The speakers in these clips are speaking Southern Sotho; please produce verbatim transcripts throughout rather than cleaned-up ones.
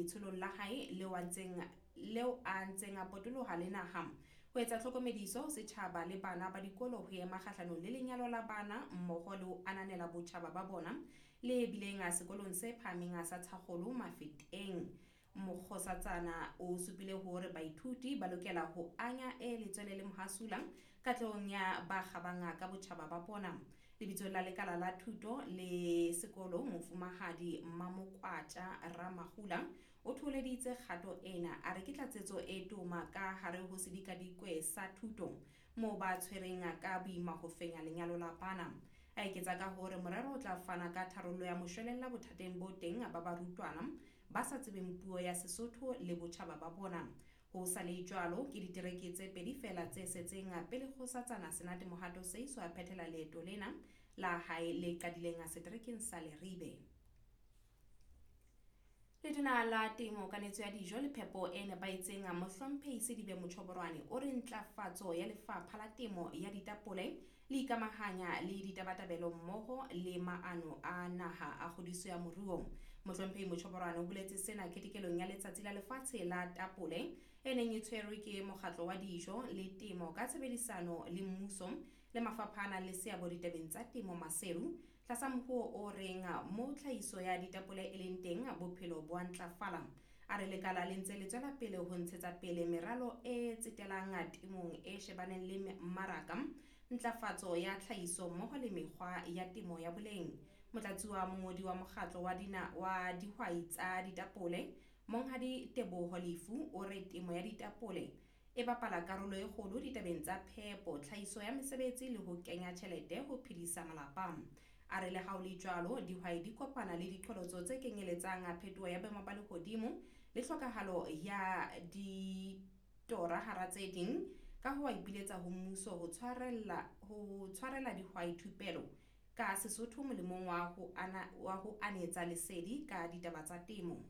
letsholong la hae leo a ntseng leo a ntseng a potoloha le naha ho etsa tlhokomediso ho setjhaba le bana ba dikolo ho ema kgahlanong le lenyalo la bana mmoho le ho ananela botjhaba ba bona le bileng sekolong se phahameng sa Thakgolo Mafeteng. Mokgosatsana o supile hore baithuti ba lokela ho anya e letswele le mohasula katlehong ya ba kgabang ka botjhaba ba bona. Lebitsong la lekala la thuto le sekolo Mofumahadi Mamokwatja Ramagula o thoholeditse kgato ena a re ke tlatsetso e toma ka hare ho sedikadikwe sa thuto moo ba tshwereng ka boima ho fenya lenyalo la bana. A eketsa ka hore morero o tla fana ka tharollo ya moshwelella bothateng bo teng ba barutwana ba sa tsebeng puo ya Sesotho le botjhaba ba bona. Ho sa le jwalo ke ditereke tse pedi feela tse setseng pele Kgosatsana Senate Mohato Seeiso a phethela leeto lena la hae le qadileng seterekeng sa Leribe. Letona la Temo, Kanetso ya Dijo le Phepo e Nepahetseng Mohlomphehi Sedibe Mochoboroane o re ntlafatso ya lefapha la temo ya ditapole le ikamahanya le ditabatabelo mmoho le maano a naha a kgodiso ya moruo. Mohlomphehi Mochoboroane o boletse sena ketekelong ya Letsatsi la Lefatshe la Tapole e neng e tshwerwe ke Mokgatlo wa Dijo le Temo ka tshebedisano le mmuso le mafapha a nang le seabo ditabeng tsa temo Maseru tlasa mohuo o reng moo tlhahiso ya ditapole e leng teng bophelo bo a ntlafala. A re lekala le ntse le tswela pele ho ntshetsa pele meralo e tsetelang temong e shebaneng le mmaraka, ntlafatso ya tlhahiso mmoho le mekgwa ya temo ya boleng. Motlatsi wa mongodi wa mokgatlo wa dina wa dihwai tsa ditapole Monghadi Teboho Lefu o re temo ya ditapole e bapala karolo e kgolo ditabeng tsa phepo, tlhahiso ya mesebetsi le ho kenya tjhelete ho phedisa malapa. A re le ha ho le jwalo, dihwai di kopana le diqholotso tse kenyeletsang phetoho ya boemo ba lehodimo le tlhokahalo ya ditora hara tse ding. Ka ho a ipiletsa ho mmuso ho tshwarella ho tshwarela dihwai thupelo ka Sesotho molemong wa ho ana wa ho anetsa lesedi ka ditaba tsa temo.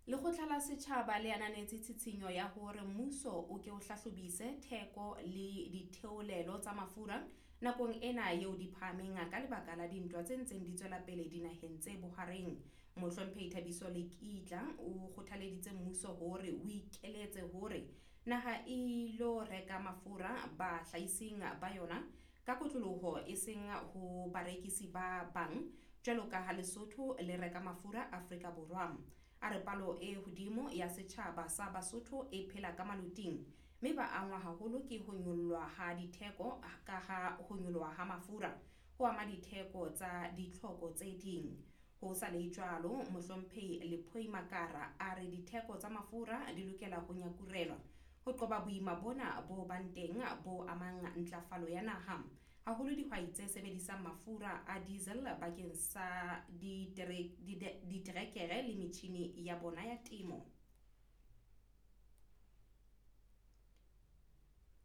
Lekgotla la Setjhaba le ananetse tshitshinyo ya hore mmuso o ke o hlahlobise theko le ditheolelo tsa mafura nakong ena eo di phahameng ka lebaka la dintwa tse ntseng di tswela pele dinaheng tse bohareng. Mohlomphehi Thabiso Lekitla o kgothaleditse mmuso hore o ikeletse hore naha e ilo reka mafura bahlahising ba yona ka kotloloho e seng ho barekisi ba bang jwalo ka ha Lesotho le reka mafura Afrika Borwa. A re palo e hodimo ya setjhaba sa Basotho e phela ka maloting mme ba angwa haholo ke ho nyollwa ha ditheko ka ha ho nyoloha ha mafura ho ama ditheko tsa ditlhoko tse ding. Ho sa le jwalo, Mohlomphehi Lephoi Makara a re ditheko tsa mafura di lokela ho nyakurelwa ho qoba boima bona bo bang teng bo amang ntlafalo ya naha, haholo dihwai tse sebedisang mafura a diesel bakeng sa diterekere le metjhine ya bona ya temo.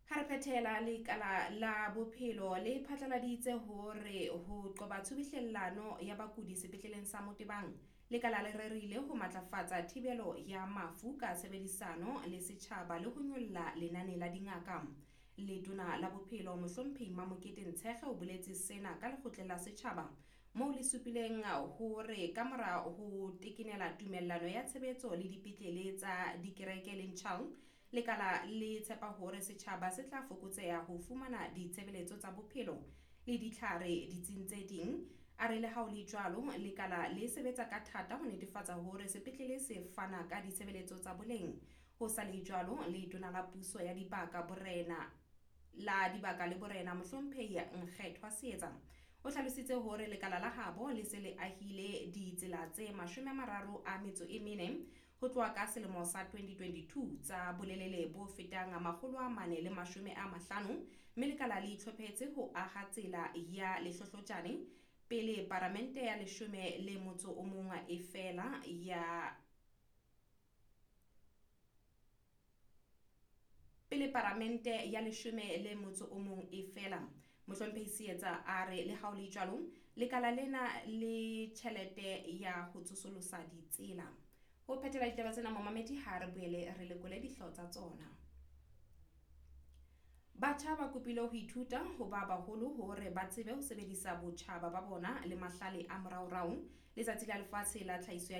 Ha re phethela, lekala la bophelo le phatlaladitse hore ho qoba tshubuhlellano ya bakudi sepetleleng sa Motebang, lekala le rerile ho matlafatsa thibelo ya mafu ka tshebedisano le setjhaba le ho nyolla lenane la dingaka. Letona la Bophelo Mohlomphehi Mamokete Ntshekge o boletse sena ka lekgotleng la setjhaba moo le supileng hore kamora ho tekenela tumellano ya tshebetso le dipetlele tsa dikereke le Nchal, lekala le tshepa hore setjhaba se tla fokotseha ho fumana ditshebeletso tsa bophelo le ditlhare ditsing tse ding. A re le ha ho le jwalo, lekala le sebetsa ka thata ho netefatsa hore sepetlele se fana ka ditshebeletso tsa boleng. Ho sa le jwalo, letona la puso ya dibaka borena la dibaka le borena Mohlomphehi Nkgethwa Seetsa o hlalositse hore lekala la habo le se le ahile ditsela tse mashome a mararo a metso e mene ho tloha ka selemo sa twenty twenty-two tsa bolelele bo fetang makgolo a mane le mashome a mahlano, mme lekala le itlhophetse ho aha tsela ya Lehlohlojane pele paramente ya leshome le motso o mong e fela ya pele paramente ya leshome le motso o mong e fela. Mohlomphehi Seetsa a re le ha ho le jwalo, lekala lena le tjhelete ya ho tsosolosa ditsela. Ho phethela ditaba tsena momamedi, ha re boele re lekole dihlooho tsa tsona. Batjha ba kopile ho ithuta ho ba baholo hore ba tsebe ho sebedisa botjhaba ba bona le mahlale a moraorao. Letsatsi la Lefatshe la Tlhahiso ya